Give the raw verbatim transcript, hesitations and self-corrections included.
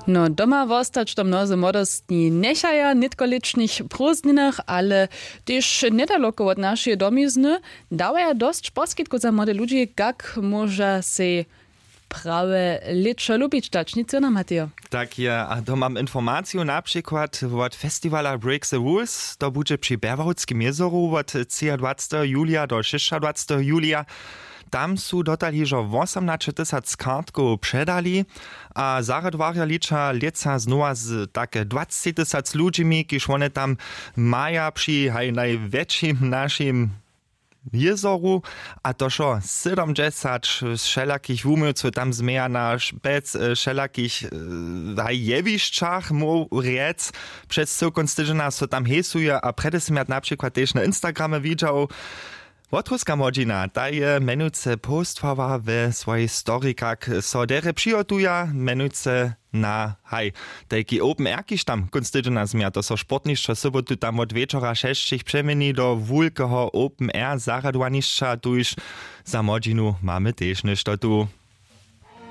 No, doma wostać to mnozy młodostni njechaja w nětkolětšnych prózdninach, ale tež njedaloko wot našeje domizny dawaja dosć poskitkow za młode ludźi, kak móža sej prawe lěćo lubić dać. Nic jona, Matejo. Tak je, a to mam informaciju na přikład wot festiwala Break the Rules. To budźe při Berwałtskim jězoru wot třiadwaceteho julija do šěsćadwaceteho julija. Tam su dotal hižo wosomnaće tysac kartkow předali a zarjadwarja liča lětsa znowa z take dwacci tysac ludźimi, kiž wone tam maja při haj najwjetšim našim jězoru. A to wšo sydomdźesać wšelakich wuměłcow tam změja na špec, e, wšelakich, e, haj jewišćach móhł rjec. Přez cyłkon stydźena so tam hejsuje a prjedy sym ja na přikład tež na instagramje widźał. Wotruska młodźina ta je mjenujce postwała we swojej story, kak so derje přihotuja mjenujce na haj tajki open air, kiž tam kónc tydźena změja. To so sportnišćo sobotu tam wot wječora šesćich přeměni do wulkeho open air zarjadowanišća. Tuž za młodźinu mamy tež něšto tu.